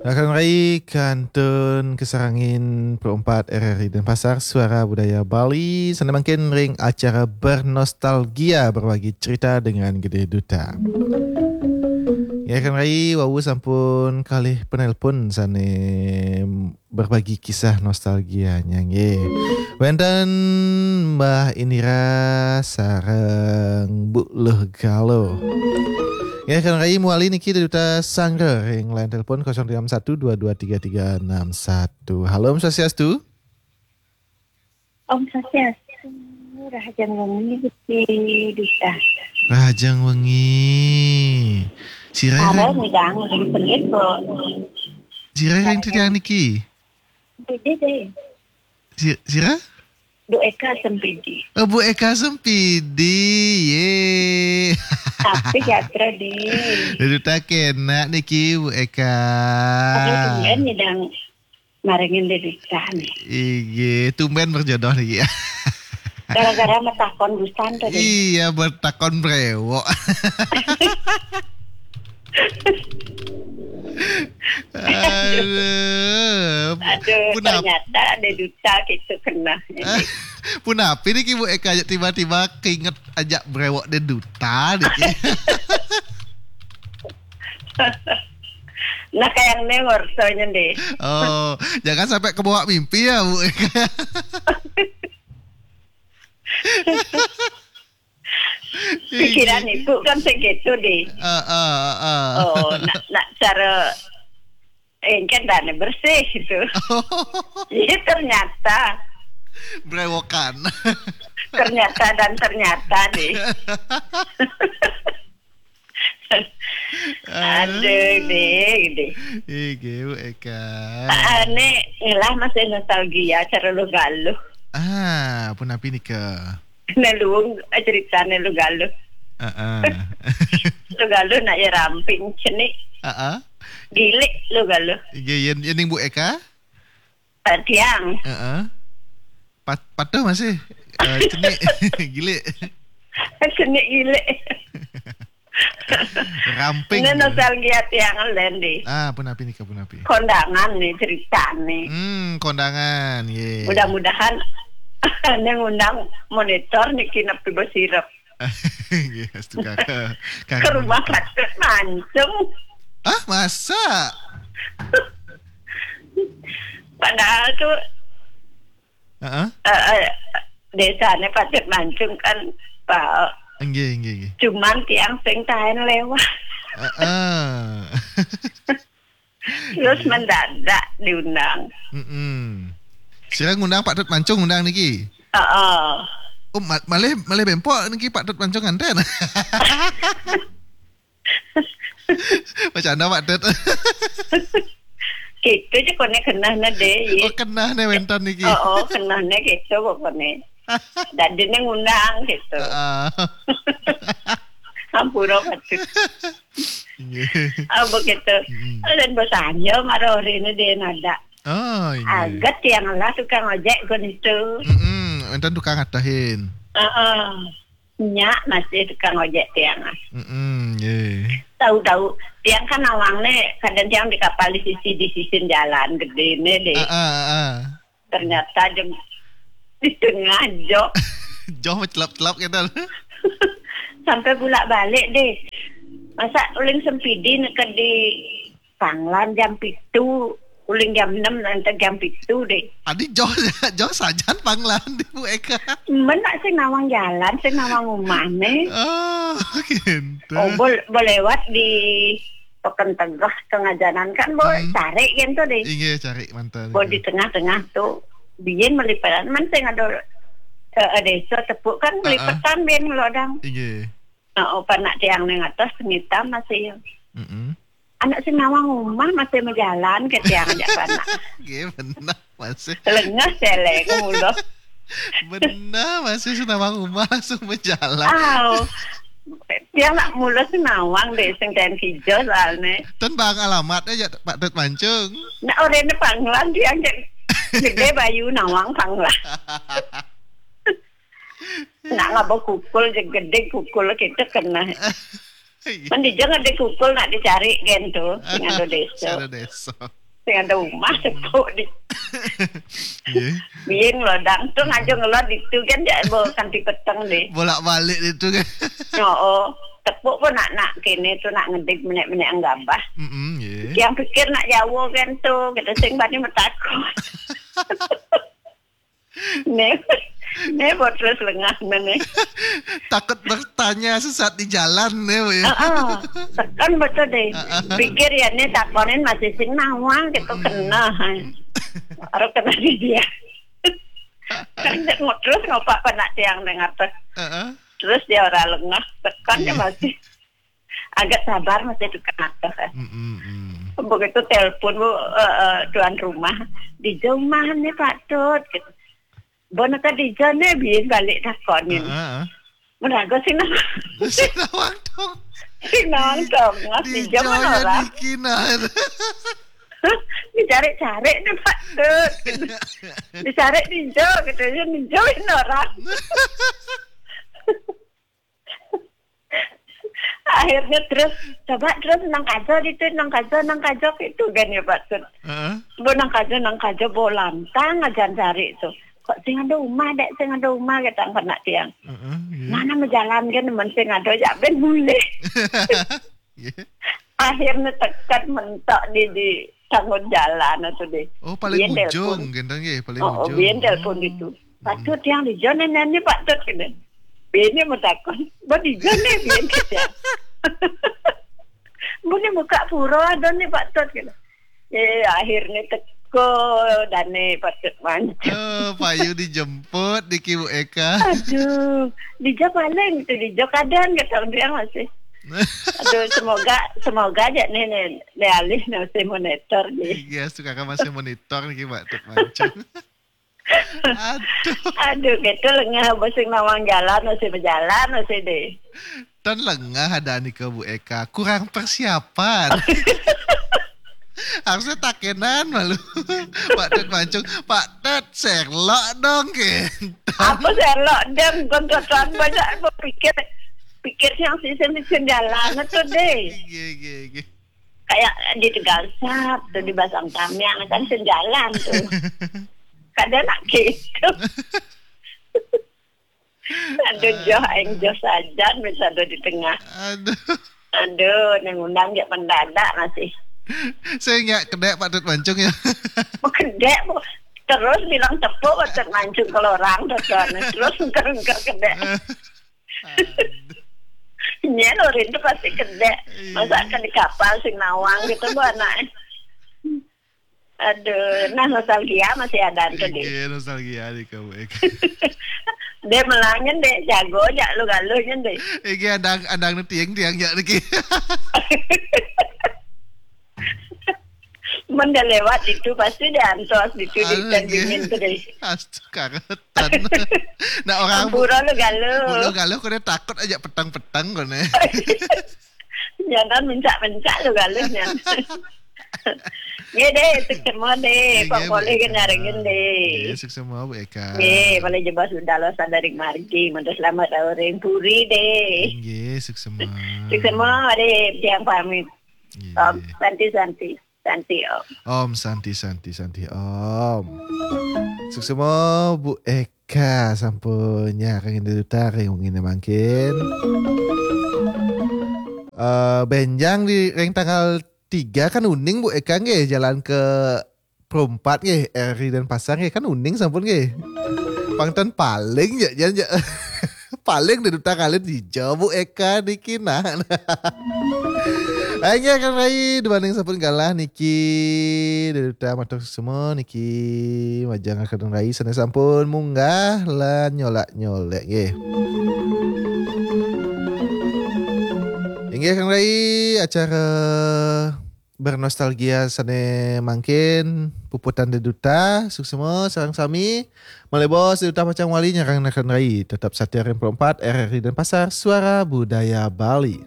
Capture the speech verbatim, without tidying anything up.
Rakan rai kantun kasarenggian Pro empat R R I Denpasar, Suara Budaya Bali. Sané mangkin ring acara Bernostalgia, berbagi cerita dengan Gede Duta. Ya, rakan rai, wau sampun kalih penelpon sané berbagi kisah nostalgianya, nggih. Wénten Mbah Indira sareng Bu Luh Galuh. Ya, rakan rai, mawali niki Duta Sanggra ring line telepon kosong tiga enam satu dua dua tiga tiga enam satu. Halo, Om Swastiastu. Om Swastiastu, rahajeng wengi, Gusti Duta. Rahajeng wengi. Sira Sareng ring, midang ring sengit, Bu. Sira ring titiang niki? Beda deh. Si-, sira? Bu Eka Sempidi. Oh, Bu Eka Sempidi. Ye. Tapi gatra deh. Duta kenak niki, Bu Eka. Tapi tumben midang marengin dedikah nih. Inggih, tumben berjodoh niki. Gara-gara matakon busan tadi. Iya, matakon bréwok. Aduh. Aduh, punap-, ternyata ada Duta gitu kena. Punapi niki, Bu Eka, tiba-tiba keinget ajak bréwok deh Duta niki. Nah, kayak nih ngersonya deh. Oh, jangan sampai kebawa mimpi ya, Bu. Pikiran ibu kan segitu deh. Heeh, heeh. Oh, nak, nak cara engken dane bersih gitu. Iya, ternyata. Brewokan. Ternyata dan ternyata deh. Aduh, deh, deh. Iki, Bu Eka. Ane ngelah masih nostalgia cara Luh Galuh. Ah, punapi nika? Neluung, eh, cerita Neluh Galuh. Heeh. Luh Galuh nak ya ramping cenik. Heeh. Gilik Luh Galuh. Iya, yen, yen ning Bu Eka? Eh, tiang. Heeh. Pat-, patuh masih. Eh, cenik, gilik. Cenik gilik. Ramping. Ini nostalgia tiang len deh. Ah, punapi nika, punapi? Kondangan nih ceritane. Hmm, kondangan, ye. Mudah-mudahan yang ngundang monitor niki nepi besirep. Yes, tukang. Ke rumah Patut Mancung. Ah, masa? Padahal tuh, heeh, eh, eh, desane Patut Mancung kan, Pak. Nggih, nggih, nggih. Cuman tiang sing taen lewat. Heeh. Terus mendadak diundang. Mm-mm. Sira ngundang Pak Tut Mancung ngundang niki? Heeh. Oh, ma-, malih, malih bempok niki Pak Tut Mancung nganten. Bercanda, Pak Tut. Gitu aja kone kenahne deh, ye. Oh, kenahne wenten niki. Oh, oh, kenahne gitu pokoknya. Dadine ngundang gitu. Heeh. Ampura, Pak Tut. Nggih. Ah, begitu. Mm-mm. Dan bosannya marah ini dia nada. Oh, iya. Aget yang lah tukang ojek gun itu. Mm-mm, enten tukang ngatahin. Heeh. Nyak masih tukang ojek tiang. Mm-mm, nggih. Tahu-tahu tiang kan nawang nih, kadang tiang di kapal di sisi, di sisi jalan gede nih deh. Heeh, heeh. Ternyata jeng di tengah jok. Jok mencelap-celap gitu. Sampai bulak balik deh. Masa uling Sempidi neka di Panglan jam pitu, uling jam enam nanti jam pitu deh. Adi jok, jok sajan Panglan di Bu Eka. Men nak sing nawang jalan, sing nawang rumah nih. Oh, gitu. Oh, bol-, boleh lewat di Peken Tegah tengah jalan kan, bol, hmm, cari gitu deh. Inggih, cari mantan. Bol di tengah-tengah tuh, biyen meliperan men sing ada, eh, desa tepuk kan, ah, ah, melipetan biyen lodang. Inggih. Nah, oh, panak tiang ning atas ngitam masih. Mm-mm. Anak sing nawang rumah masih majalan ke tiang ajak panak. Nggih, bener, masih. Lengah selek mulo. Bener, masih sing nawang rumah langsung majalan. Aw. Tiang nak mulo sing nawang deh, sing ten kijo soalnya. Ten bang alamat aja, Pak Tut Mancung. Nak orene Panglan tiang cek gede bayu nawang Panglan. Nak ngaba kukul je gede kukul kita kena. Iya. Mending jangan dikukul nak dicari kan tu, sing ada desa. Sing ada desa. Sing ada rumah tepuk di. Iya. Biyen lho, dang tu ngajeng ngelot itu kan, jak bo kanti peteng deh. Bolak-balik itu kan. Oh, oh. Tepuk pun nak, nak kene tu nak ngedik menek-menek gabah. Mm-mm, iya. Yang pikir nak Jawa kan tu, kita sing bani metakut. Ne, ne buat terus lengah ne. Takut bertanya sesat di jalan ne, Bu, ya. Heeh. Tekan betul deh. Pikir ya ne takonin masih sing nawang gitu kena. Baru kena di dia. Kan mau terus ngopak kena tiang dengan atas. Heeh. Terus dia orang lengah, tekan dia masih agak sabar masih tekan atas. Eh. Mm-mm. Begitu telepon bu, eh, eh, tuan rumah, di jauh mana Pak Tut? Gitu. Bona tadi jane biyen balik takonin. Heeh. Menago sing nawang. Sing nawang dong. Sing nawang dong. Mas di jauh mana orang? Dicari-cari nih Pak Tut. Dicari di jauh gitu ya, di jauh ini orang. Akhirnya terus coba terus nang kajo itu, nang kajo, nang kajo itu kan ya Pak Tut. Heeh. Bu nang kajo, nang kajo, bu lantang aja cari itu. Kok sing ada rumah dek, sing ada rumah kata anak tiang. Heeh, iya. Mana menjalankan men sing ada ya ben mulih. Iya. Akhirnya tekan mentok di di tanggung jalan itu deh. Oh, paling ujung, gendong ya, paling oh, ujung. Biyen telepon itu. Patut yang di jone nani Pak Tut kene. Bini mau takon, mau di jone biyen kita. Mau ni buka pura ada ni Pak Tut kene. Eh, akhirnya teko dane Pak Tut mancu. Oh, payu dijemput di Kibu Eka. Aduh, di jo paling tu di jo kadang kata dia masih. Aduh, semoga semoga aja ni ni, ni alih ni masih monitor ni. Iya, suka kan masih monitor ni Kibu Tut mancu. Aduh. Aduh, gitu lengah bosing nawang jalan masih berjalan masih deh. Dan lengah ada nih ke Bu Eka, kurang persiapan. Harusnya takenan malu. Pak Tet mancung, Pak Tet serlok dong kentang. Apa serlok dong, kontrakan banyak berpikir pikir yang sih sih jalan itu deh. Iya, iya, iya. Kayak di Tegal Sap tuh di Basang Tamiang kan sejalan tuh. Kadang nak gitu. Aduh joh aing joh sajan bisa ada di tengah. Aduh. Aduh, yang undang dia mendadak masih. Saya nggak kedek Pak Tut Mancung ya. Kedek bu. Terus bilang tepuk Pak Tut Mancung kalau orang terus terus engker engker kedek. Nya lho rindu pasti kedek. Masa akan di kapal sing nawang gitu bu anak. Aduh, nah nostalgia masih ada tuh deh. Iya, nostalgia di kamu. Deh melangin deh, jago aja lu galuhnya deh. Iya, ada ada tiang tiang ya lagi. Menda lewat itu pasti dia antos di sini dan dingin tuh deh. Astaga. Nah orang Ampura lu galuh. Lu galuh kau takut aja petang-petang kau nih. Jangan mencak-mencak lu galuhnya. Ya deh, sukses semua deh. Pak Polih kan nyarengin deh. Ya, sukses semua Bu Eka. Ya, paling jebas sudah lo sadar margi. Mantu selamat orang puri deh. Ya, sukses semua. Sukses semua deh, yang pamit. Ya. Om Santi Santi. Santi Om. Om Santi Santi Santi Om. Suksema Bu Eka sampun nyarengin duta ring wengi mangkin. Eh benjang di ring tanggal tiga kan uning Bu Eka nggih jalan ke Perumpat nggih, R I Denpasar nggih kan uning sampun nggih. Pangten paling ya jan ya. Paling dari utang alit hijau Bu Eka niki nah. Ayo kan Rai dibanding sampun galah niki dari utang matur semua niki majang akan Rai sana sampun munggah lan nyolak nyolek nggih. Inggih kan Rai acara bernostalgia sane mangkin puputan deduta suksma sareng sami. Malebos deduta pacang wali nyarang nakan rai tetap satia ring empat R R I Denpasar Suara Budaya Bali.